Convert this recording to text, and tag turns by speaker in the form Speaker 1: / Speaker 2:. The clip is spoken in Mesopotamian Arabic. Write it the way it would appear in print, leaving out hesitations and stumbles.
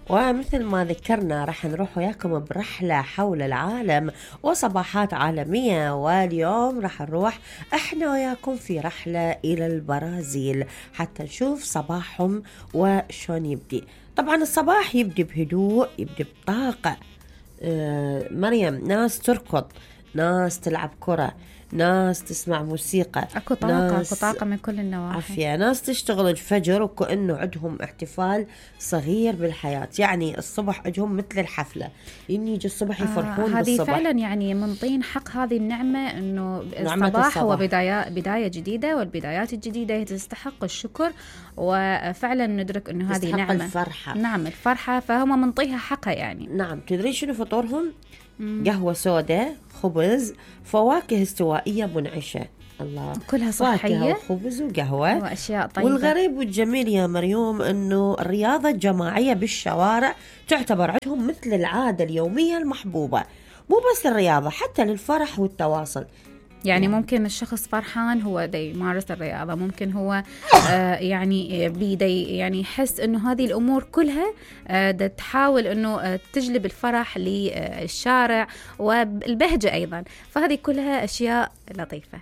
Speaker 1: ومثل ما ذكرنا راح نروح وياكم برحلة حول العالم وصباحات عالمية، واليوم راح نروح احنا وياكم في رحلة إلى البرازيل حتى نشوف صباحهم وشون يبدي. طبعا الصباح يبدي بهدوء، يبدي بطاقة. مريم، ناس تركض، ناس تلعب كرة، ناس تسمع موسيقى،
Speaker 2: اكو طاقة من كل النواحي.
Speaker 1: عافية، ناس تشتغل الفجر وكأنه عندهم احتفال صغير بالحياة. يعني الصبح عندهم مثل الحفلة، يجي الصبح يفرحون
Speaker 2: هذه
Speaker 1: بالصبح.
Speaker 2: فعلا يعني منطين حق هذه النعمة، انه الصباح هو بداية جديدة، والبدايات الجديدة تستحق الشكر، وفعلا ندرك انه هذه نعمة.
Speaker 1: الفرحة.
Speaker 2: نعم الفرحة، فهم منطيها حقها يعني.
Speaker 1: نعم. تدري شنو فطورهم؟ قهوة سوداء، خبز، فواكه استوائية منعشة. الله،
Speaker 2: كلها صحية،
Speaker 1: وخبز وقهوة
Speaker 2: وأشياء طيبة.
Speaker 1: والغريب والجميل يا مريوم أنه الرياضة الجماعية بالشوارع تعتبر عندهم مثل العادة اليومية المحبوبة. مو بس الرياضة، حتى للفرح والتواصل.
Speaker 2: يعني ممكن الشخص فرحان هو دي يمارس الرياضة، ممكن هو يعني بيدي يعني يحس انه هذه الامور كلها تحاول انه تجلب الفرح للشارع والبهجة ايضا، فهذه كلها اشياء لطيفة.